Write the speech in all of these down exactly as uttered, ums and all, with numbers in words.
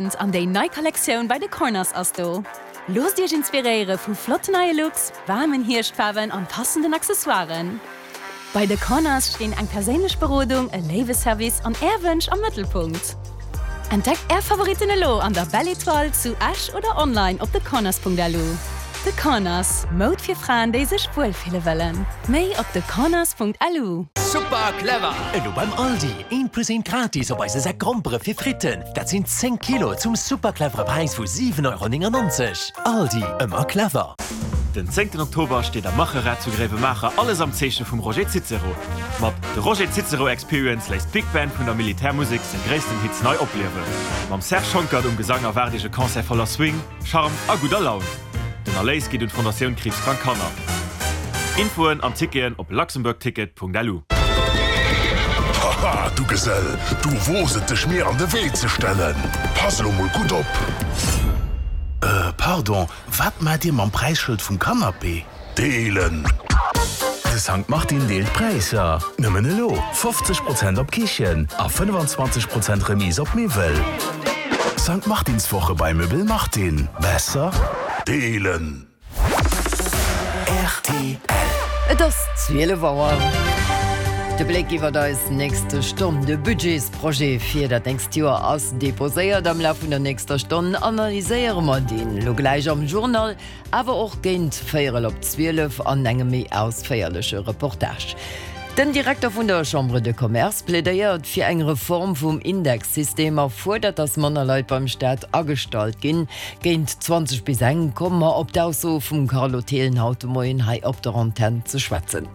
An déi nei Kollektioun bei The Corners ass do! Loosst Iech inspiréiere vu flotten neie Looks, waarmen Hierschtfaarwen an passenden Accessoiren. Bei The Corners stinn eng perséinlech Berodung, e léiwe Service an Är Wënsch am Mëttelpunkt. Entdeckt Är Favoritten elo an der Belle Etoile zu Esch oder online op thecorners.lu. The Corners, Moud fir Fraen, déi sech wuel fille wëllen. Méi op thecorners.lu. Super clever! Elo beim Aldi, eent plus eent gratis op eise Säck Grompere fir Fritten. Dat sinn zéng Kilo zum super clevere Präis vu siwen Euro néngennonzeg. Aldi, ëmmer clever! Den zéngten Oktober steet am Macherrad zu Gréiwemaacher alles am Zeeche vum Roger Cicero. Mat The Roger Cicero Experience léisst d'Big Band vun der Militärmusek seng gréissten Hits nei opliewen. Mam Serge Schonckert um Gesang erwaart Iech e Concert voller Swing, Charme a gudder Laun. Den Erléis geet un d'Fondatioun Kriibskrank Kanner. Infoen an Ticketen op luxembourgticket.lu. Haha, du Gesell, du woos et dech mir an de Wee ze stellen. Pass elo mol gutt op! Äh, pardon, wat maacht dir mam Präisschëld vum Canapé? Deelen! De Sankt Martin deelt Präisser! Nëmmen elo fofzeg Prozent op Kichen a fënnefenzwanzeg Prozent Remise op Miwwel. Sankt Martinswoche bei Möbel Martin. Besser deelen! Rtl. Et ass zwielef Auer. De Bléck iwwer eis nächste Stonn. De Budgetsprojet fir dat nächst Joer ass deposéiert. Am Laf vun der nächster Stonn analyséiere mer deen elo gläich am Journal, awer och géint véierel op zwielef an engem méi ausféierleche Reportage. Den Direkter vun der Chambre de Commerce plädéiert fir eng Reform vum Indexsystem a fuerdert, datt manner Leit beim Staat agestallt ginn. Géint zwanzeg bis eng komme mer op d'Ausso vum Carlo Thelen haut de Moien hei op der Antenn ze schwätzen.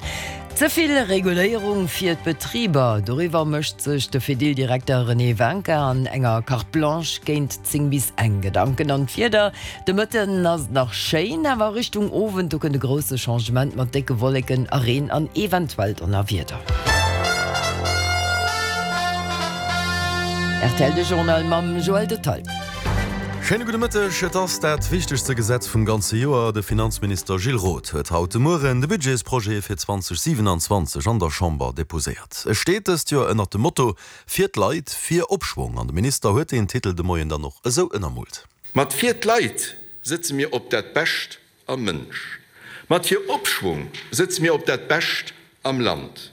Ze vill Reguléierung fir d'Betriber, doriwwer mécht sech de Fedil-Direkter René Wincker an enger Carte Blanche géint zéng bis eng Gedanken. An d'Wieder, De Mëtten ass et nach schéin, awer Richtung Owend, do kënnt e grousse Changement mat décke Wolleken a Reen an eventuell Donnerwieder. Rtl De Journal mam Joël Detaille. Schéine gudde Mëtteg. Et ass dat wichtegste Gesetz vum ganze Joer. De Finanzminister Gilles Roth huet haut de Mueren de Budgetsprojet fir zweidausendsiewenundzwanzeg an der Chamber deposéiert. E steet dëst Joer ënnert dem Motto Fir d'Leit, fir Opschwong an de Minister huet deen Titel de Moien dann och esou ënnermoolt. Mat Fir d'Leit sëtze mir op dat Bescht am Mënsch. Mat Fir Opschwung sëtze mir op dat Bescht am Land.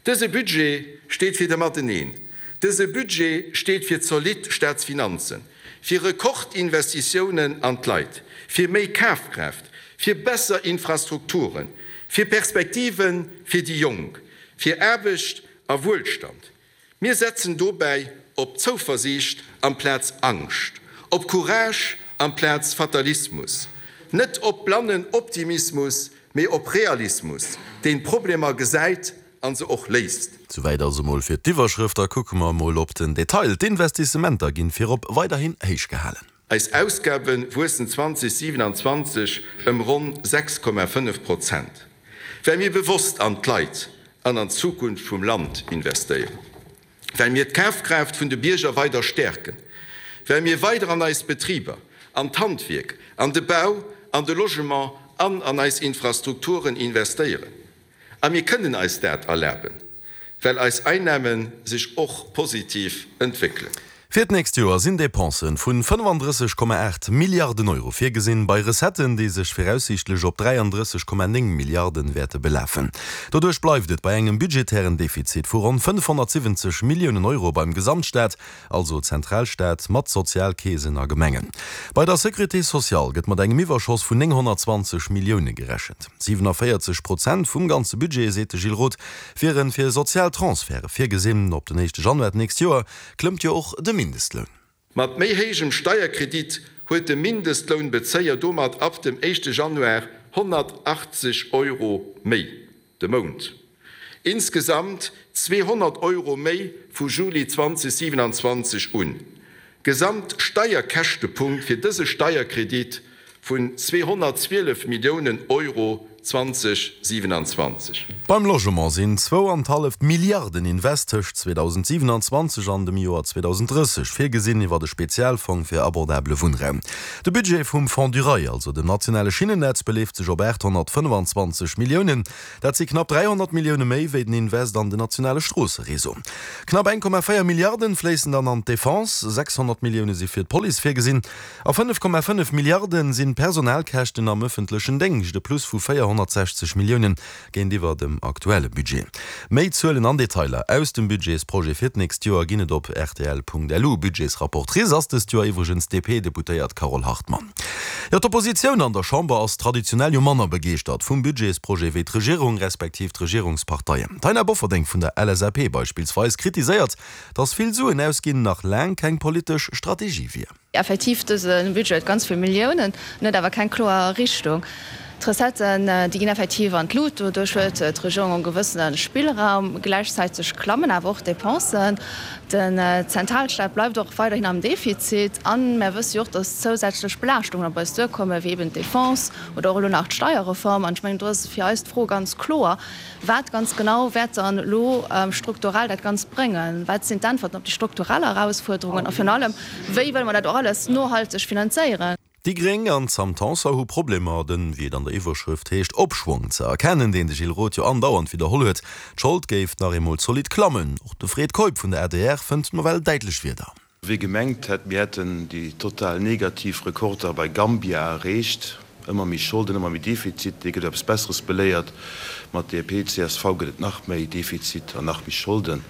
Dëse Budget steet fir de Mateneen. Dëse Budget steet fir zolidd Staatsfinanzen, fir Rekordinvestitiounen an d'Leit, fir méi Kafkraaft, fir besser Infrastrukturen, fir Perspektive fir déi Jonk, fir Aarbecht a Wuelstand. Mir setzen dobäi op Zouversiicht amplaz Angscht, op Courage amplaz Fatalismus, net op blannen Optimismus, mee op Realismus, deen d'Problemer gesäit a se och léist. Souwäit also mol fir d'Iwwerschrëft. Da kucke mer mol op den Detail. D'Investissementer ginn virop weiderhin héich gehalen. Eis Ausgabe wuessen zweidausendsiewenundzwanzeg ëm ronn sechs Komma fënnef Prozent, well mir bewosst an d'Leit an an d'Zukunft vum Land investéieren, well mir d'Kafkraaft vun de Bierger weider stäerken, well mir weider an eis Betriber, an d'Handwierk, an de Bau, an de Logement an an eis Infrastrukturen investéieren. A mir kënnen eis dat erlaben, well eis Einnahme sech och positiv entwéckelen. Fir d'nächst Joer sinn Depensen vun fënnefandrësseg Komma aacht Milliarden Euro virgesinn, bei Recetten, déi sech viraussiichtlech op dräiandrësseg Komma néng Milliarden wäerte belafen. Doduerch bleift et bei engem budgetären Defizit vu ronn fënnefhonnertsiwwenzeg Milliounen Euro beim Gesamtstaat, also Zentralstaat mat Sozialkeesen a Gemengen. Bei der Sécurité sociale gëtt mat engem Iwwerschoss vun nénghonnertzwanzeg Millioune gerechent. Siwenavéierzeg Prozent vum ganze Budget, seet de Gilles Roth, wiere fir sozial Transferte virgesinn. Op den éischte Januar d'nächst Joer klëmmt jo och de Mindestloun. Mat méi héijem Steierkredit huet de Mindestlounbezéier domat ab dem éischte Januar honnertachtzeg Euro méi de Mount. Insgesamt zweehonnert Euro méi vu Juli zweidausendsiewenundzwanzeg un. Gesamtsteierkäschtepunkt fir dëse Steierkredit vun zweehonnertzwielef Milliounen Euro zwanzeg siwenanzwanzeg. Beim Logement sinn zwou an d'halleft Milliarden Invest tëscht zweedausendsiewenanzwanzeg an dem Joer zweedausenddrësseg virgesinn iwwer de Spezialfong fir abordabele Wunnraum. De Budget vum Fonds du rail, also dem nationale Schinnennetz, beleeft sech op aathonnertfënnefenzwanzeg Milliounen. Dat si knapp dräihonnert Millioune méi wéi den Invest an den nationale Stroossereseau. Knapp eng Komma véier Milliarden fléissen dann an d'Defense, sechshonnert Millioune si fir d'Police virgesinn a fënnef Komma fënnef Milliarden sinn d'Personalkäschten am ëffentlechen Déngscht, e Plus vu véierhonnertsechzeg Milliounen géintiwwer dem aktuelle Budget. Méi Zuelen an Detailer aus dem Budgetsprojet fir d'nächst Joer ginn et op rtl.lu. Budgetsrapportrice ass dëst Joer iwwregens d'DP-Deputéiert Carole Hartmann. Jo, d'Oppositioun an der Chamber ass traditionell jo manner begeeschtert vum Budgetsprojet wéi d'Regierung respektiv d'Regierungsparteien. D'Taina Bofferding vun der L S A P beispillsweis kritiséiert, datt vill Suen ausginn nach laang keng politesch Strategie wier. Effektiv, dëse Budget huet ganz vill Milliounen, en huet awer keng kloer Richtung. D'Recetten, déi ginn effektiv an d'Lut, doduerch huet d'Regierung e gewëssene Spillraum. Gläichzäiteg klammen awer och d'Depensen. Den Zentralstaat bleift och weiderhin am Defizit. A mär wësse jo och, datt zousätzlech Belaaschtungen op eis duerkommen, wéi eben d'Defense oder och elo nach d'Steierreform. An ech mengen, do ass fir eis d'Fro ganz kloer, Wat ganz genau wäert dann elo strukturell dat Ganzt bréngen? Wat sinn d'Äntwerten op déi strukturell Erausfuerderungen? A virun allem, wéi wëlle mer dat och alles nohalteg finanzéieren? Déi Gréng an d'Sam Tanson hu Problemer, den, wéi et an der Iwwerschrëft heescht, Opschwong ze erkennen, deen de Gilles Roth jo andauernd widderholl huet. D'Schold géif nach eemol zolidd klammen. Och de Fred Keup vun der A D R fënnt nawell däitlech Wierder. Wie gemengt hätt, mir hätten déi total negativ Rekorder bei Gambia erreecht, ëmmer méi Scholden, ëmmer méi Defizit, dee gëtt eppes Besseres beléiert. Mat D P, C S V gëtt et nach méi Defizit an nach méi Scholden.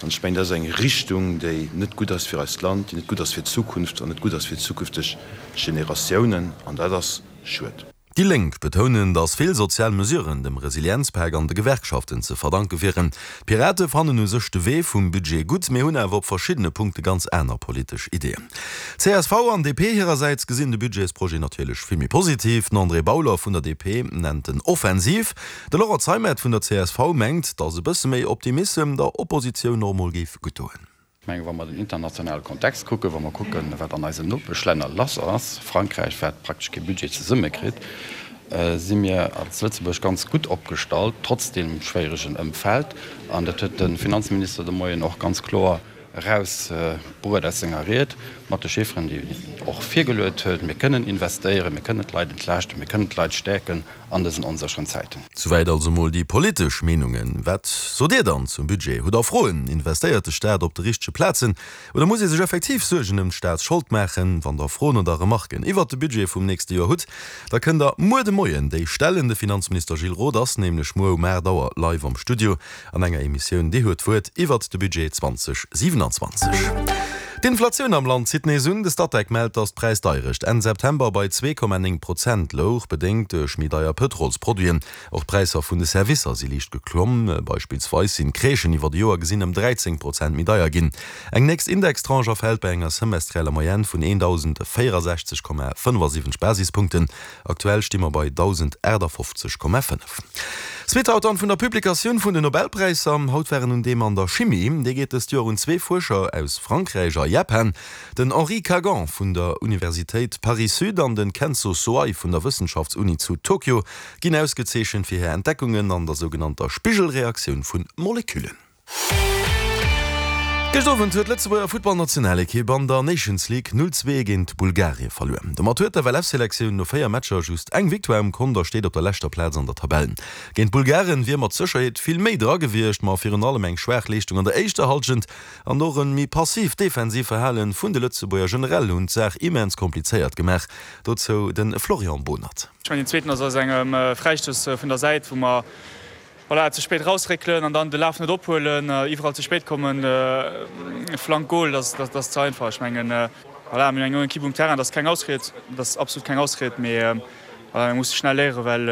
An ech mengen, dat ass eng Richtung, déi net gutt ass fir eist Land, déi net gutt ass fir d'Zukunft an net gutt ass fir zukünfteg Generatiounen. An dat ass schued. Déi Lénk betounen, datt vill sozial Mesuren dem Resilienzpak an de Gewerkschaften ze verdanke wieren. D'Pirate fannen u sech de Wee vum Budget gutt, mee hunn awer op verschiddene Punkte ganz aner politesch Ideeën. C S V an D P hirersäits gesinn de Budgetsprojet natierlech vill méi positiv. Den André Bauler vun der D P nennt en offensiv. De Laurent Zeimet vun der C S V mengt, datt e bësse méi Optimissem der Oppositioun och mol géif gutt doen. Ech mengen, wa mer den internationale Kontext kucken, wa mer kucken, wat an eisen Nopeschlänner lass ass, Frankräich, wat praktesch kee Budget zesummekritt, si mir als Lëtzebuerg ganz gutt opgestallt, trotz deem schwéieregen Ëmfeld. An dat huet de Finanzminister de Moien och ganz kloer erausbruet aus senger Ried mat de Chifferen, déi en och virgeluet huet. Mir kënnen investéieren, mir kënnen d'Leit entlaaschten, mir kënnen d'Leit stäerken an dësen onsécheren Zäiten. Souwäit also mol déi politesch Meenungen. Wat sot Dir dann zum Budget? Hutt Der Froen? Investéiert de Staat op de richtege Plazen oder muss ee sech effektiv Suergen ëm d'Staatsschold maachen? Wann Der Froen oder Remarken iwwert de Budget vum nächste Joer hutt, da kënnt Der muer de Moien déi stellen. De Finanzminister Gilles Roth ass nämlech muer um aacht Auer live am Studio an enger Emissioun Dir huet d'Wuert iwwert de Budget zweedausendsiewenanzwanzeg. D'Inflatioun am Land zitt nees un. De Statec mellt, datt d'Präisdeierecht Enn September bei zwee Komma néng Prozent louch, bedéngt duerch méi deier Pëtrolsproduiten. Och d'Präisser vun de Servicer si liicht geklomm. Beispillsweis sinn d'Crèchen iwwer de Joer gesinn ëm dräizéng Prozent méi deier ginn. Eng nächst Indextranche erfält bei enger semestrieller Moyenne vun eendausendvéierasechzeg Komma fënnefasiwwenzeg Basispunkten. Aktuell sti mer bei dausendaachtafofzeg Komma fënnef. Suite haut dann vun der Publikatioun vun den Nobelpräisser. Haut war en un deem an der Chimie. Dee geet dëst Joer un zwee Fuerscher aus Frankräich a Japan, den Henri Kagan vun der Universitéit Paris-Sud an den Kenzo Soai vun der Wëssenschaftsuni zu Tokio ginn ausgezeechent fir hir Entdeckungen an der sougenannter Spigelreaktioun vu Moleküllen. Gëscht Owend huet d'Lëtzebuerger Futtballnationalekipp an der Nations League null zwee géint Bulgarie verluer. Domat huet d'F L F-Selektioun no véier Matcher just eng Victoire um Kont a steet op der leschter Plaz an der Tabell. Géint d'Bulgaren wier mat Sécherheet vill méi dra gewiescht, ma virun allem eng schwaach Leeschtung an der éischter Hallschent an och e méi passiivt defensiivt Verhale vun de Lëtzebuerger generell hunn d'Saach immens komplizéiert gemaach. Dozou de Florian Bohnert. Ech mengen deen zweeten ass aus engem Fräistouss vun der Säit, wou mer voilà, ze spéit rausréckelen an dann de Laf net ophuelen, iwwerall ze spéit kommen, Flank, Goal, dat dat ass ze einfach. Ech mengen voilà, mir hunn eng jonk Ekipp um Terrain, dat ass keng Ausried, dat ass absolut keng Ausried, mee voilà, mir musse schnell léieren, well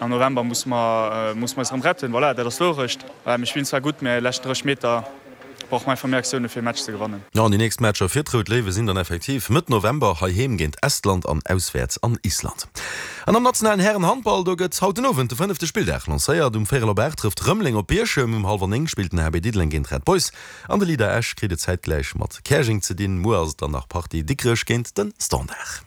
am November musse mer musse mer eis erëm retten. Voilà, dat ass d'Wourecht. Voilà, mir spillen zwar gutt, mee leschten drësseg Meter brauche mer einfach méi Aktioune fir e Match ze gewannen. Jo, an déi nächst Matcher fir d'Rout Léiwe sinn dann effektiv Mëtt November heiheem géint Estland an auswäerts an Island. An am nationalen Hären-Handball, do gëtt haut den Owend de fënnefte Spilldag lancéiert. Um véierel op aacht trëfft Rëmeleng op Bierchem, um hallwer néng spillt den H B Diddeleng géint Red Boys an de Leader Esch kritt et zäitgläich mat Käerjeng ze dinn. Muer ass et dann nach Partie Dikrech géint de Standard.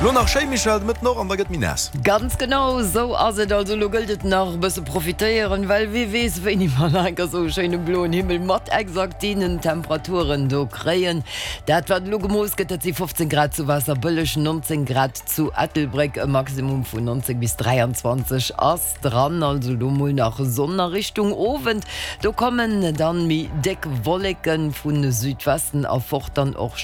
Lo nach schéi, Michèle, de Mëtten och, an da gëtt méi naass. Ganz genau esou ass et. Also elo gëllt et nach e bësse profitéieren, well wie weess wéini mer nach eng Kéier esou e schéine bloen Himmel mat exakt deenen Temperaturen do kréien. Dat wat elo gemooss gëtt, dat si fofzéng Grad zu Waasserbëlleg, nonzéng Grad zu Ettelbréck, e Maximum vun nonzéng bis dräianzwanzeg ass dran. Also elo mol nach Sonn a Richtung Owend, do kommen dann méi déck Wolleken vu Südwesten erfort, dann och